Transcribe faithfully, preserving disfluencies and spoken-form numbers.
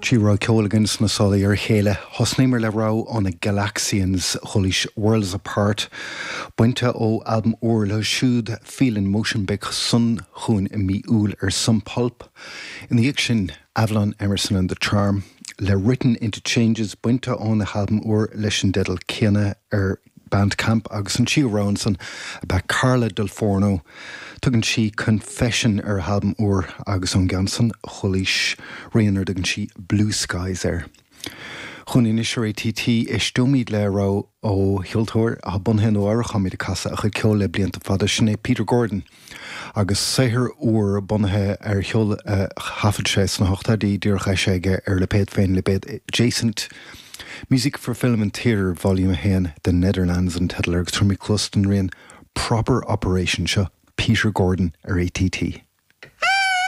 Trí rogha ceoil againn sna sála ar a chéile, thosnaíomar le rogha ó na Galaxians chualaís Worlds Apart, bainte ó albam úr leo siúd Feel in Motion beidh san chugainn i mí Iúil ar Sub Pulp. Ina dhiaidh sin Avalon Emerson and the Charm le Written into Changes bainte óna halbam úr leis an dteideal céanna ar Bandcamp agus an tríú rogha ansan ab ea Carla Dal Forno. Tugann sí Confession ar a halbam úr agus ón gceann san chualaís rian ar dtugann sí Blue Skies air. Chugainn anois ar ATT éisteoimid le rogha ó cheoltóir atá bunaithe i Nua-Eabhrac táimid ag casadh a chuid ceoil le blianta fada sin é Peter Gordon. agus saothar úr bunaithe ar cheol a thaifead sé sna hochtóidí díreach eisithe aige ar lipéad féin lipéad Adjacent. Music for Film and Theatre Volume a haon The Netherlands an teideal agus táimid ag cloistin rian Proper Operation seo Peter Gordon ar ATT.